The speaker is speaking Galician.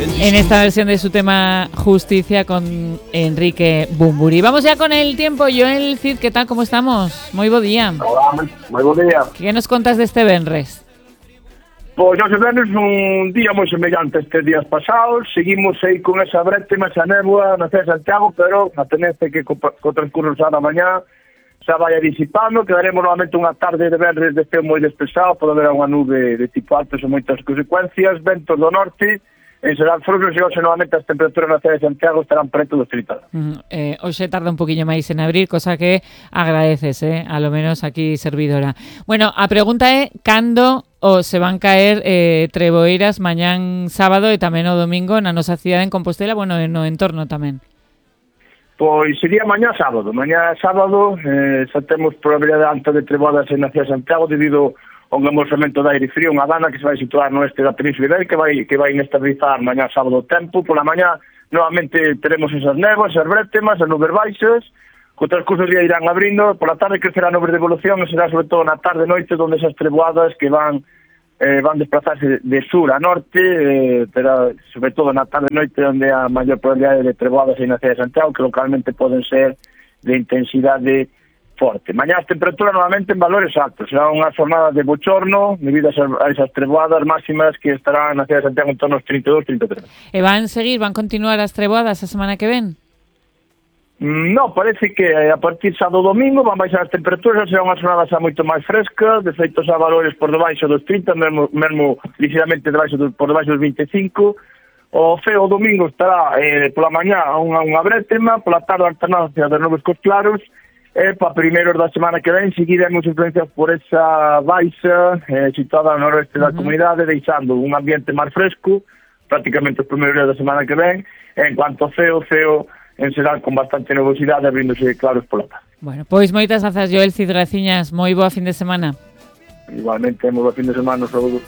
en esta versión de su tema Justicia con Enrique Bumburi. Vamos ya con el tiempo. Joel Cid, ¿qué tal? ¿Cómo estamos? Moi bo día. Hola, moi bo día. Que nos contas deste venres? Pois hoxe venres un día moi semellante a estes días pasados. Seguimos aí con esa brétema, esa néboa na cidade de Santiago, pero a tendencia que co transcurso da mañá xa vai disipando. Quedaremos novamente unha tarde de venres de ceo moi despexado. Pode haber unha nube de tipo alto sen moitas consecuencias. Ventos do norte. En Serán Frugos e hoxe novamente as temperaturas na cidade de Santiago estarán preto dos 30. Hoxe tarda un poquinho máis en abrir, cosa que agradeces, a lo menos aquí servidora. Bueno, a pregunta é cando se van caer treboeiras mañán sábado e tamén o domingo na nosa cidade en Compostela, bueno, no entorno tamén. Pois sería mañá sábado. Mañá sábado xa temos probabilidade alta de treboadas na cidade de Santiago debido un amorsamento de aire frío, unha dana que se vai situar no oeste da Península Ibérica que vai inestabilizar mañá sábado o tempo. Pola mañá, novamente, teremos esas néboas, esas brétemas, as nubes baixas, que o transcurso do día irán abrindo, pola tarde crecerá nubes de evolución, e será sobre todo na tarde e noite onde esas treboadas que van desplazarse de sur a norte, pero sobre todo na tarde e noite onde a maior probabilidade de treboadas aí na cidade de Santiago, que localmente poden ser de intensidade forte. Mañá as temperaturas novamente en valores altos. Será unha jornada de bochorno debido a esas treboadas máximas que estarán na cidade de Santiago en torno aos 32-33. E van continuar as treboadas a semana que ven? No, parece que a partir xa do domingo van baixar as temperaturas, será unha jornada xa moito máis fresca, de feito xa valores por debaixo dos 30, mesmo ligeramente por debaixo dos 25. O feo domingo estará pola mañá unha brétema, pola tarde alternancia de nubes cos claros. Para primeiros da semana que ven seguiremos influenciados por esa baixa situada no noroeste da comunidade, deixando un ambiente máis fresco prácticamente os primeiros días da semana que ven. En cuanto ao ceo en Serán con bastante nubosidade, abríndose claros pola tarde. Bueno, pois moitas grazas, Joel Cid Graciñas, moi boa fin de semana. Igualmente, moi boa fin de semana, saúdos.